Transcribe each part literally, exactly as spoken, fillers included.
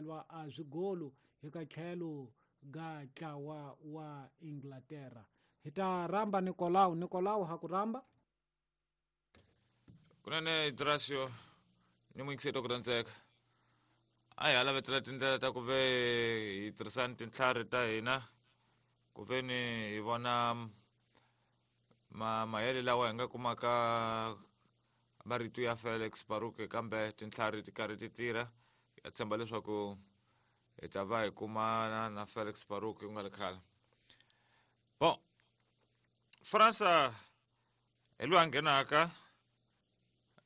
belwa a zwigolu hi ka tlhelo ga ntlawa wa Inglaterra. Hi ta rhamba Nicolau. Nicolau ha ku rhamba. Kunene Drasio ni muyingiseri ku rhandzeka. A hi lavetela tindlela ta ku ve hi tirhisani tintlhari ta hina ku ve ni hi vona ma mahele lawa hi nga kumaka marito ya Felix Baruke kambe tintlhari ti karhi ti tirha. Ya tshemba leswaku hi ta va hi kumana na Felix Baruke ku nga ri khale. Bon, Fransa hi loyi a nghenaka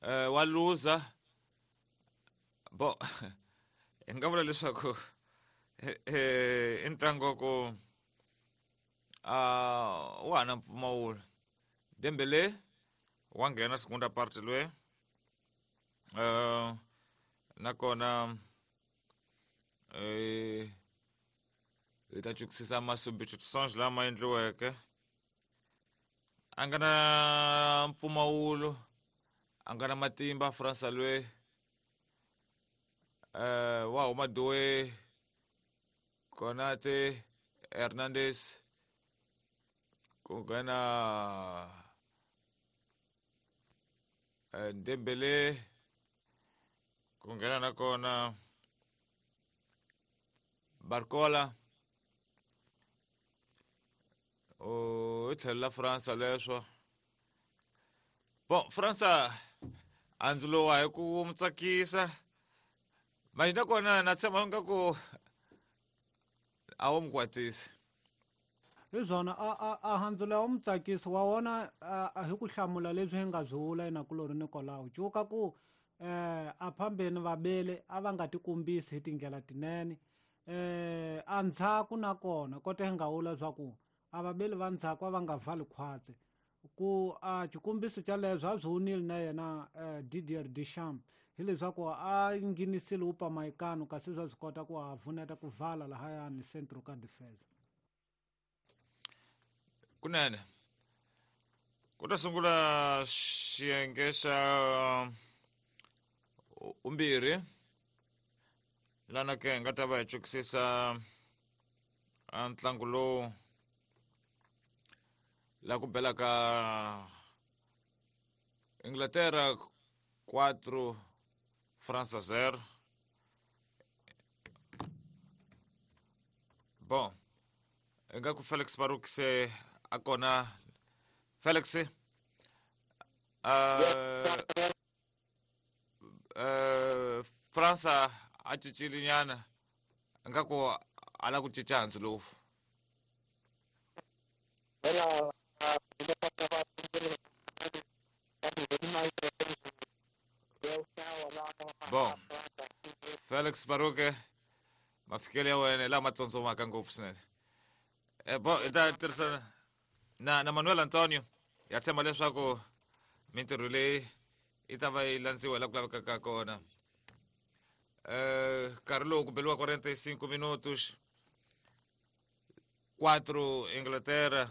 eh wa luza. Bo hi nga vula leswaku i ntlangu wa ku a wa ha na mpfumawulo. Dembele wa nghena segunda parte loyi eh nakona eh hi ta chukisisa ma-substitutions lama endliweke. A nga na mpfumawulo, a nga na matimba Fransa loyi. Eh wa huma Doué, Konate, Hernandez, ku nghena Dembele, ku nghena nakona Barcola. O i tlhelo la Fransa leswo. Bon, Fransa andzulo wa hi ku mu tsakisa. Manje nakona na tshemba nga ku a wu mu kwatisi. Hi swona a a a handzula wa mu tsakisi wa wona hi ku hlamula leswi hi nga byi vula yena kulori Nicolau. Cuka ku eh a phambeni vabele a va nga tikombisi hi tindlela tinene. Eh a ndzhaku nakona kota hi nga vula swa ku a vabeli va ndzhaku a va nga vali khwatsi. Ku a xikombiso xa leswo a swi wunile na yena Didier Deschamps hileswaku a nghenisile Upamecano kasi swa swi kota ku a pfuneta ku vala lahayani centro ka defense. Kunene ku ta sungula xiyenge xa umbirhi lana ke hi nga ta va hi chukisisa a ntlangu lowu la ku belaka Inglaterra quatro França zero. Bon, ingaku Felix Baruch se a kona. Felix uh, uh, Fransa a cincile nyana ingaku a la ku cinca hansi lowu. Bon, Felix Baruch mafikelo ya wena lama tsotsomaka ngopfu swinene. Eh bon, hi ta tirhisana na na Manuel Antonio. Ya tshemba leswaku mintirho leyi yi ta va yi landziwa laha ku lavekaka kona. Eh nkarhi lowu ku beliwa quarenta e cinco minutos. Quatro Inglaterra,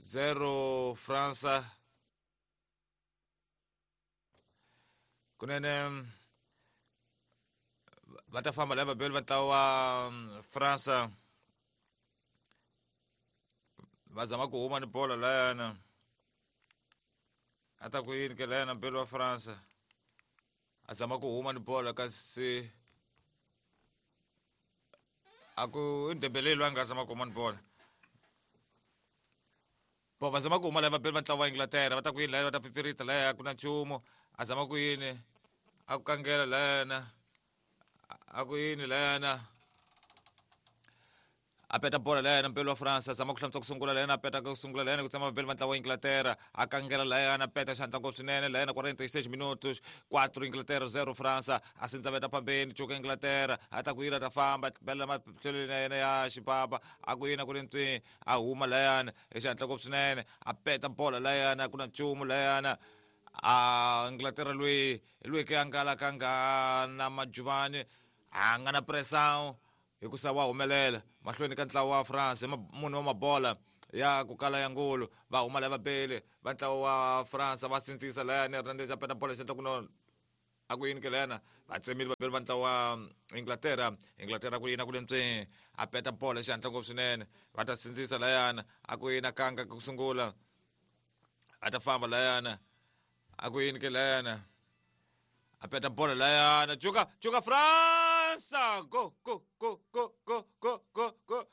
zero França. Kunene va ta famba lava vabeli va ntlawa wa Fransa va zama ku huma ni bola layana. A ta ku yini ke layana mbeli wa Fransa a zama ku huma ni bola kasi a ku i Dembele loyi a nga zama ku huma ni bola. Bo va zama ku huma lava vabeli va ntlawa wa Inglaterra va ta ku yini laya va ta pipirita laya ku na nchumu a zama ku yini a ku kangela layana a ku yini layana a peta bola layana mbeli wa Fransa a zama ku hlantswa ku sungula layana a peta ku sungula layana ku tshama vabeli va ntlawa wa Inglaterra a kangela layana a peta xandla ngopfu swinene layana quarenta e seis minutos quatro Inglaterra zero Fransa a sindzaveta phambeni cuka Inglaterra a ta ku yini a ta famba bela matlhelweni ya yena ya xipapa a ku yini a ku ri ntswi a huma layana hi xandla ngopfu swinene a peta bola layana ku na nchumu layana a Inglaterra loyi loyi ke a nga la ka nga na majuvani a nga na pressão hikusa wa humelela mahlweni ka ntlawa wa France munhu wa mabola ya ku kala ya ngulu va huma lava bele va ntlawa wa France va sindzisa layani Hernandez a peta bola xandla ku no A ku yini ke layana va tsemile vabeli va ntlawa wa Inglaterra. Inglaterra ku yina ku le ntswini a peta bolo xihatla ngopfu swinene, va ta sindzisa layana. A ku yina kanga ku sungula, a ta famba layana. A ku yini ke layana a peta bolo layana, cuka cuka Fransa, go go go go go go go go.